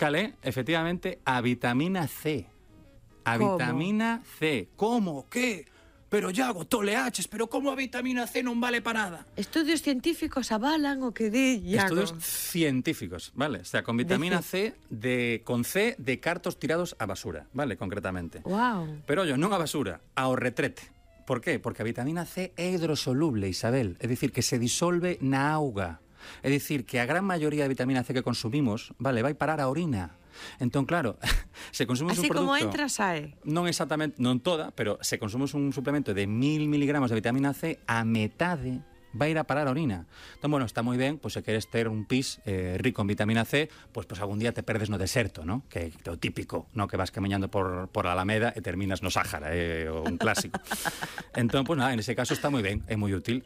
Cal é, efectivamente, a vitamina C. A Como? vitamina C. Como? Que? Pero Iago, toleaches, pero como a vitamina C non vale para nada? Estudios científicos avalan o que di Iago. Estudios científicos, ¿vale? O sea, con vitamina C, con C de cartos tirados á basura, ¿vale? Concretamente. Wow. Pero, ollo, non a basura, ao retrete. Por qué? Porque a vitamina C é hidrosoluble, Isabel. É dicir, que se disolve na auga. É dicir, que a gran maioría de vitamina C que consumimos, vale, vai parar a orina. Entón, claro, se consumimos Así un producto... como entra, sae. Non exactamente, non toda, pero se consumimos un suplemento de 1000 miligramos de vitamina C, a metade vai ir a parar a orina. Entón, bueno, está moi ben, pois se queres ter un pis rico en vitamina C, pois algún día te perdes no deserto, ¿no? Que é o típico, ¿no? Que vas camiñando por a Alameda e terminas no Sáhara, un clásico. Entón, pois nada, en ese caso está moi ben, é moi útil.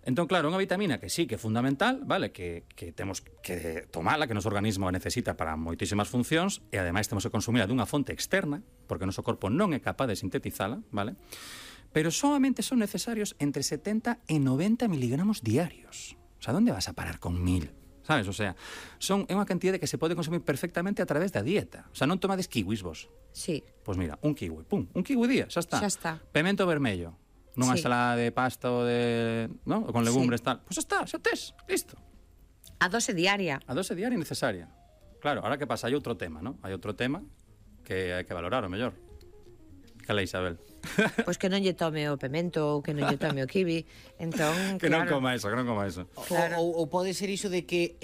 Entón, claro, unha vitamina que sí que é fundamental, vale, que temos que tomala, que o noso organismo a necesita para moitísimas funcións, e ademais temos que consumila dunha fonte externa, porque o noso corpo non é capaz de sintetizala, vale? Pero solamente son necesarios entre 70 e 90 miligramos diarios. O sea, ¿dónde vas a parar con 1000? Sabes? O sea, é unha cantidade que se pode consumir perfectamente a través da dieta. O sea, non tomades kiwis vos. Sí. Pois mira, un kiwi, pum, un kiwi día, xa está. Xa está. Pemento vermello. Nunha ensalada de pasta ou de, ¿no? Con legumbres, tal. Pois está, xa tes, listo. A dose diaria. A dose diaria necesaria. Claro, ahora que pasa, hai outro tema, ¿no? Hai outro tema que hai que valorar, o mellor. Cala, Isabel. Pois que non lle tome o pemento ou que non lle tome o kiwi. Entón, que claro. non coma eso, que non coma eso. Claro. Ou pode ser iso de que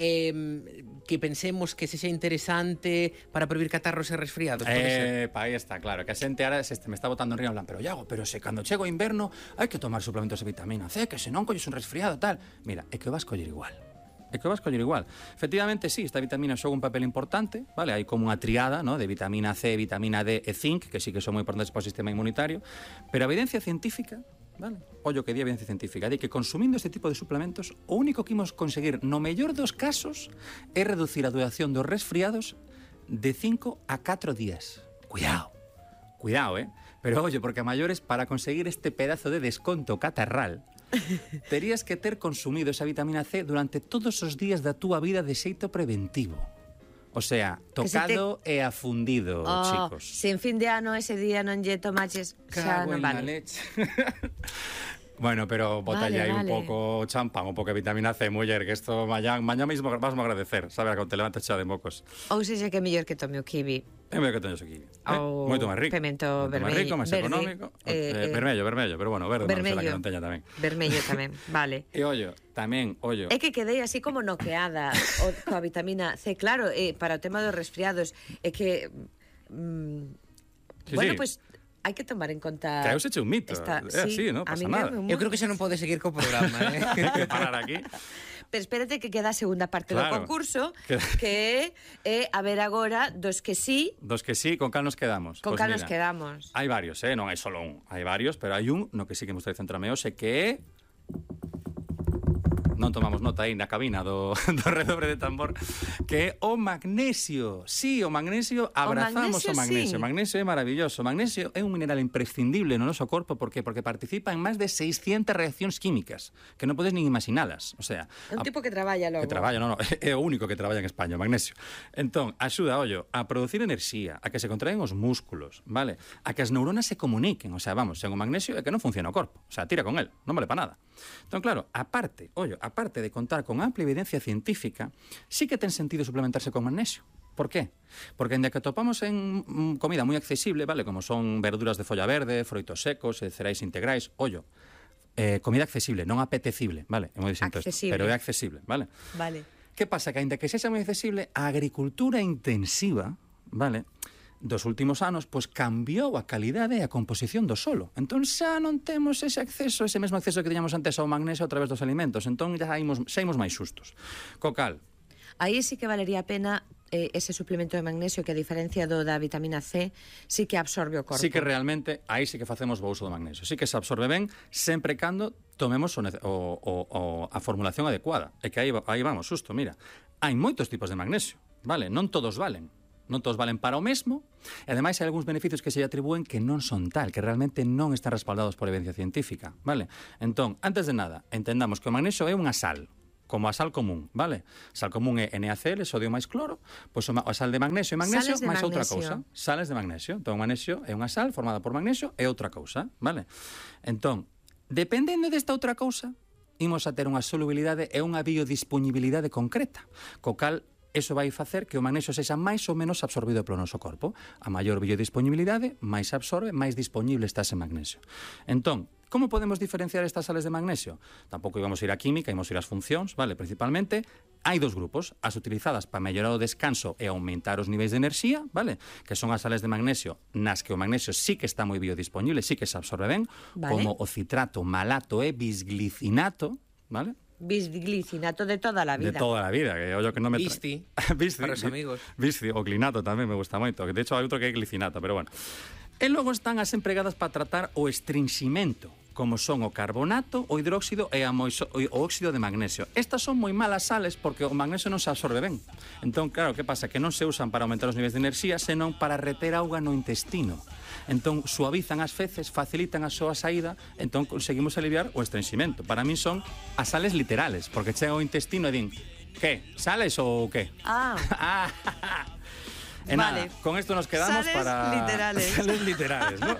pensemos que sexa interesante para previr catarros e resfriados, pode ser. Aí está, claro, que a xente ahora me está botando en río en plan, pero Iago, pero se cando chego o inverno hai que tomar suplementos de vitamina C, que se non colles un resfriado, tal. Mira, é que o vas coller igual. Efectivamente, sí, esta vitamina xoga un papel importante, vale? Hai como unha triada, ¿no? De vitamina C, vitamina D e zinc, que sí que son moi importantes para o sistema inmunitario, pero a evidencia científica, vale? Ollo que di a evidencia científica, de que consumindo este tipo de suplementos, o único que imos conseguir, no mellor dos casos, é reducir a duración dos resfriados de 5 a 4 días. Cuidado, pero ollo, porque a maiores, para conseguir este pedazo de desconto catarral, terías que ter consumido esa vitamina C durante todos os días da túa vida de xeito preventivo. O sea, tocado e afundido, chicos. Se en fin de ano ese día non lle tomaches, xa non vale. Leche. Bueno, pero botalle aí un pouco champán, un pouco de vitamina C, muller, que isto mañá mesmo vas a agradecer, sabe, cando te levantes xa de mocos. Ou sexa que é mellor que tome o kiwi. É mellor que teñes o kiwi. Ou moito máis rico. Pemento vermello. Máis rico, máis económico. Vermello, pero bueno, verde non será que non teña tamén. Vermello tamén, vale. E ollo, tamén, ollo. É que quedei así como noqueada coa vitamina C, claro, para o tema dos resfriados, é que bueno, pues hai que tomar en conta... Que eu seche un mito, é así, non pasa nada. Eu creo que xa non pode seguir co programa, que parar aquí. Pero espérate que queda a segunda parte do concurso, que é a ver agora dos que sí... Dos que sí, con cal nos quedamos. Con cal nos quedamos. Hai varios, non hai solo un. Hai varios, pero hai un no que sí que me gustaría centrarme hoxe, que é... Non tomamos nota aí na cabina do redobre de tambor, que é o magnesio. Sí, o magnesio, abrazamos o magnesio. O magnesio é maravilloso. O magnesio é un mineral imprescindible no noso corpo, por qué? Porque participa en máis de 600 reaccións químicas, que non podes nin imaginalas. O sea, é un tipo que traballa logo. Que traballa, non, é o único que traballa en España, o magnesio. Entón, axuda, ollo, a producir enerxía, a que se contraen os músculos, vale? A que as neuronas se comuniquen, o sea, vamos, sen o magnesio é que non funciona o corpo. O sea, tira con él, non vale para nada. Entón, claro, aparte de contar con amplia evidencia científica, sí que ten sentido suplementarse con magnesio. Por qué? Porque ainda que atopamos en comida moi accesible, vale, como son verduras de folla verde, froitos secos, cereais integrais, ollo, comida accesible, non apetecible, vale? É moi distinto isto, pero é accesible, vale? Vale. Que pasa? Que ainda que sexa moi accesible, a agricultura intensiva, vale, dos últimos anos, pois cambiou a calidade e a composición do solo. Entón xa non temos ese mesmo acceso que tiñamos antes ao magnesio a través dos alimentos. Entón xa imos máis xustos. Co cal, aí sí que valería a pena ese suplemento de magnesio que a diferencia do da vitamina C sí que absorbe o corpo. Sí que realmente, aí sí que facemos bo uso do magnesio. Sí que se absorbe ben sempre cando tomemos a formulación adecuada. É que aí vamos, xusto, mira. Hai moitos tipos de magnesio, vale? Non todos valen. Non todos valen para o mesmo, e ademais hai algúns beneficios que se lle atribúen que non son tal, que realmente non están respaldados por evidencia científica, vale? Entón, antes de nada, entendamos que o magnesio é unha sal, como a sal común, vale? Sal común é NaCl, sodio máis cloro, pois a sal de magnesio e magnesio Sales de máis outra magnesio. cousa. Sales de magnesio. Entón, o magnesio é unha sal formada por magnesio e outra cousa, vale? Entón, dependendo desta outra cousa, imos a ter unha solubilidade e unha biodispoñibilidade concreta, co cal eso vai facer que o magnesio sexa máis ou menos absorbido polo noso corpo. A maior biodisponibilidade, máis absorbe, máis disponible está ese magnesio. Entón, como podemos diferenciar estas sales de magnesio? Tampouco íbamos a ir a química, íbamos a ir ás funcións, vale? Principalmente, hai dos grupos, as utilizadas para mellorar o descanso e aumentar os niveis de enerxía, vale? Que son as sales de magnesio, nas que o magnesio sí que está moi biodisponible, sí que se absorbe ben, Vale. como o citrato, malato e bisglicinato, vale? Bisglicinato de toda a vida. De toda a vida, que ollo que non me... Visti, Visti, para os amigos. Visti, o glinato tamén me gusta moito, que de hecho hai outro que é glicinato, pero bueno. E logo están as empregadas para tratar o estrinximento, como son o carbonato, o hidróxido e o óxido de magnesio. Estas son moi malas sales porque o magnesio non se absorbe ben. Entón, claro, que pasa? Que non se usan para aumentar os niveis de enerxía, senón para reter auga no intestino. Entón, suavizan as feces, facilitan a súa saída, entón conseguimos aliviar o estrenximento. Para min son as sales literales, porque chega ao intestino e din, que, sales ou que? Ah, E Vale. nada, con esto nos quedamos Sales para... literales. Sales literales, ¿no?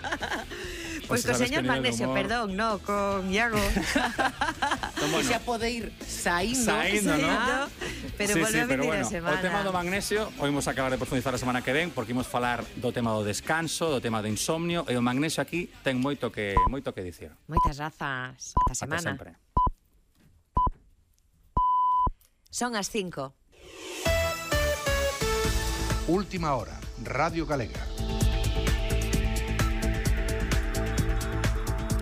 Pois co señor Magnesio, perdón, no, con Iago. Entón, Que xa pode ir saindo. Saindo, ¿no? Pero Sí, volve a pero venir bueno, a semana. o tema do magnesio, o imos acabar de profundizar a semana que ven, porque imos falar do tema do descanso, do tema do insomnio, e o magnesio aquí ten moito que dicir. Moitas razas. Ata Ata semana. sempre. Son as 5. Última hora, Radio Galega.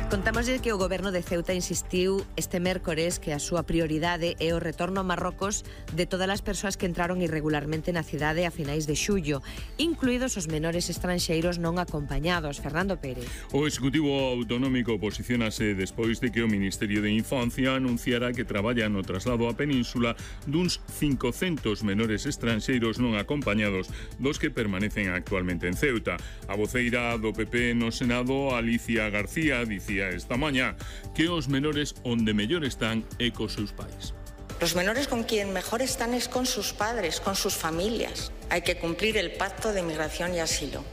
Contámoslle que o goberno de Ceuta insistiu este mércores que a súa prioridade é o retorno a Marrocos de todas as persoas que entraron irregularmente na cidade a finais de xullo, incluídos os menores estranxeiros non acompañados. Fernando Pérez. O Executivo Autonómico posicionase despois de que o Ministerio de Infancia anunciara que traballa no traslado á península duns 500 menores estranxeiros non acompañados dos que permanecen actualmente en Ceuta. A voceira do PP no Senado, Alicia García, dicía esta mañá que os menores onde mellor están é cos seus pais. Los menores con quien mejor están es con sus padres, con sus familias. Hay que cumplir el Pacto de Migración y Asilo,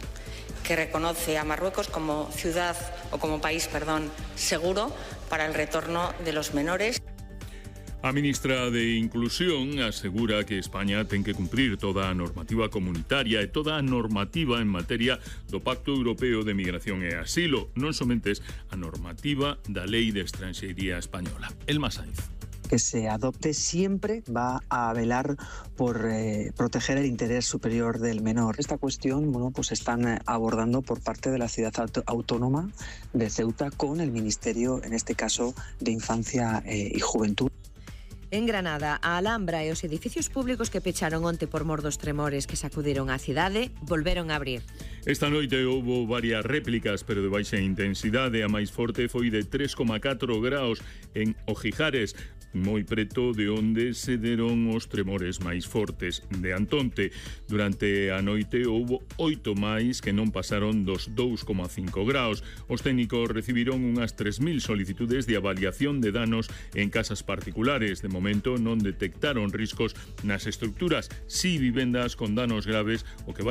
que reconoce a Marruecos como ciudad o como país, seguro para el retorno de los menores. A ministra de Inclusión asegura que España ten que cumprir toda a normativa comunitaria e toda a normativa en materia do Pacto Europeo de Migración e Asilo, non somentes a normativa da Lei de Estranxeiría Española. Elma Sainz. Que se adopte siempre va a velar por proteger el interés superior del menor. Esta cuestión, pues están abordando por parte de la ciudad autónoma de Ceuta con el Ministerio, en este caso, de Infancia y Juventud. En Granada, a Alhambra e os edificios públicos que pecharon onte por mor dos tremores que sacudiron a cidade volveron a abrir. Esta noite houbo varias réplicas, pero de baixa intensidade. A máis forte foi de 3,4 graus en Ojijares, moi preto de onde se deron os tremores máis fortes de Antonte. Durante a noite houbo 8 máis que non pasaron dos 2,5 graus. Os técnicos recibiron unhas 3.000 solicitudes de avaliación de danos en casas particulares. De momento non detectaron riscos nas estructuras, si vivendas con danos graves, o que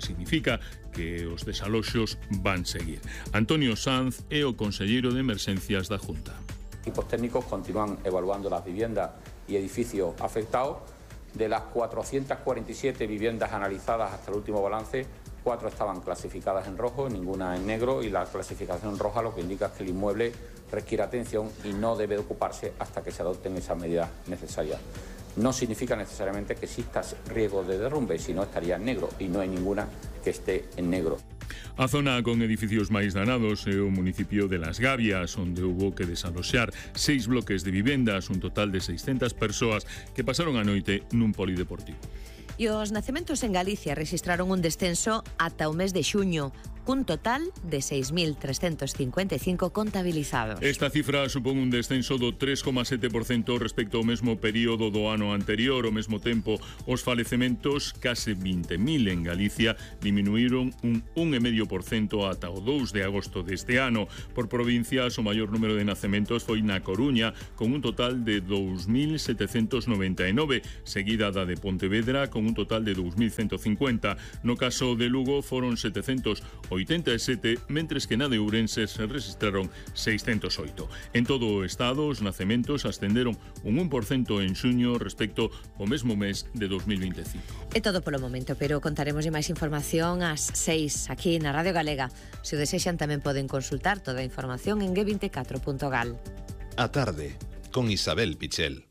significa que os desaloxos van seguir. Antonio Sanz é o conselleiro de Emerxencias da Junta. Equipos técnicos continúan evaluando las viviendas y edificios afectados. De las 447 viviendas analizadas hasta el último balance, 4 estaban clasificadas en rojo, ninguna en negro, y la clasificación roja lo que indica es que el inmueble requiere atención y no debe ocuparse hasta que se adopten esas medidas necesarias. No significa necesariamente que exista riesgo de derrumbe, sino estaría en negro, y no hay ninguna que esté en negro. A zona con edificios máis danados é o municipio de Las Gavias, onde houbo que desaloxar 6 bloques de vivendas, un total de 600 persoas que pasaron a noite nun polideportivo. E os nacementos en Galicia registraron un descenso ata o mes de xuño. cun total de 6.355 contabilizados. Esta cifra supón un descenso do 3,7% respecto ao mesmo período do ano anterior. Ao mesmo tempo, os falecementos, case 20.000 en Galicia, diminuíron un 1,5% ata o 2 de agosto deste ano. Por provincias, o maior número de nacementos foi na Coruña, con un total de 2.799, seguida da de Pontevedra, con un total de 2.150. No caso de Lugo, foron 787, mentres que na de Ourense se registraron 608. En todo o estado, os nacementos ascenderon un 1% en xuño respecto ao mesmo mes de 2025. É todo polo momento, pero contaremos de máis información ás 6 aquí na Radio Galega. Se o desexan tamén poden consultar toda a información en g24.gal. A tarde, con Isabel Pichel.